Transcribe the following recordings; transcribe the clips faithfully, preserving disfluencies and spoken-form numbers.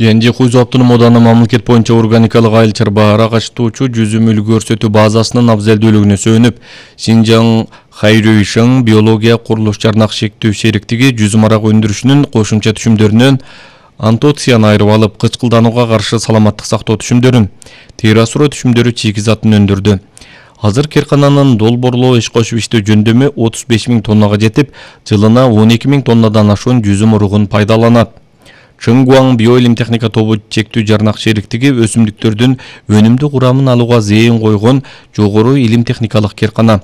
Янжи Куйзу автоном ооданы мамлекет боюнча органикалык айыл чарбаара качтуучу жүзүм үлгү көрсөтүү базасынын абзелдүүлүгүнө сөөнүп, Синжаң Хайрюишың биология курулуш жарнак шектүү шериктиги жүзүм арак өндүрүшүнүн кошумча түшүмдөрүнөн антоцияны айырып алып, кычкылданууга каршы саламаттык сактоо түшүмдөрүн, террасура түшүмдөрү чийгизатын өндүрдү. Азыр керкананын долбоорлоо иш кошуп иштөө жөндөмү отуз беш миң тоннага жетип, жылына он эки миң тоннадан ашуун жүзүм уругун пайдаланат. Чыңгуаң биоилим техника тобу чектүү жарнак шериктиги өсүмдүктөрдүн өнүмдүү курамын алууга зээн койгон жогору илим техникалык керкана.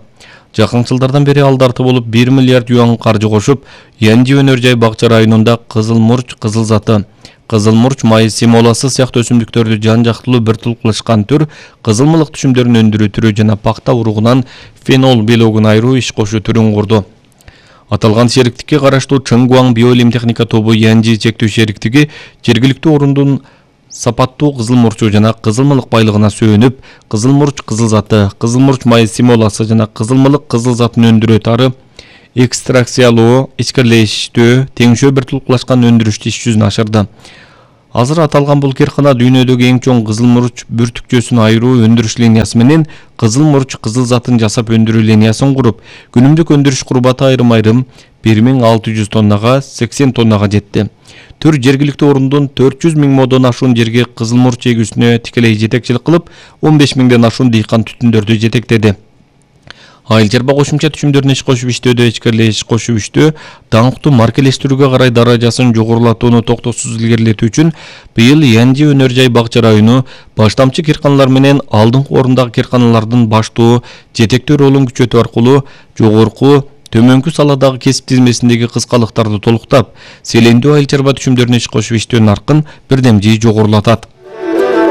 Жакын жылдардан бери ал дарты болуп бир миллиард юан каржы кошуп, Янжи өнөр жай бакча районунда кызыл мурч, кызыл заты, кызыл мурч майы семоласы сыяктуу өсүмдүктөрдү жан жактылуу бир тулкулашкан түр, кызылмылык түшүмдөрүн өндүрүү түрү жана пакта уругунан фенол белогун айыруу иш кошуу түрүн курду. Аталган шериктикке караштуу Чыңгуаң биоилим техника тобу Янжи чектүү шериктиги жергиликтүү орундун сапаттуу кызыл мурчу жана кызылмылык байлыгына сөөнүп, кызыл мурч, кызыл заты, кызыл мурч майы семоласы жана кызылмылык кызыл затын өндүрүү тары экстракциялоо, ичкирлештөө, теңшөө бир тулкулашкан өндүрүштү иш жүзүнө ашырды. Азыр аталган бул керкана дүйнөдөгү эң чоң кызыл мурч бүртүкчөсүн айыруу өндүрүш линиясы менен кызыл мурч, кызыл затын жасап өндүрүү линиясын куруп, күнүмдүк өндүрүш курбаты айрым-айрым бир миң алты жүз тоннага, сексен тоннага жетти. Түр жергиликтүү орундун төрт жүз миң модон ашуун жерге кызыл мурч эгүүсүнө тикелей жетекчилик кылып, он беш миңден ашуун дыйкан түтүндөрдү жетектеди. Айыл чарба кошумча түшүмдөрүнө иш кошуп иштөөдө ичкирлеш кошуп иштөө даңктуу маркелештирүүгө карай даражасын жогорулатууну токтоосуз илгерилетүү үчүн быйыл Янжи өнөр жай бакча району баштамчы керканалар менен алдыңкы орундагы керканалардын баштоо, жетектөө ролун күчөтүү аркылуу жогорку, төмөнкү саладагы кесип тизмесиндеги кыскалыктарды толуктап, селендүү айыл чарба түшүмдөрүнө иш кошуп иштөө наркын бирдем жий жогорулатат.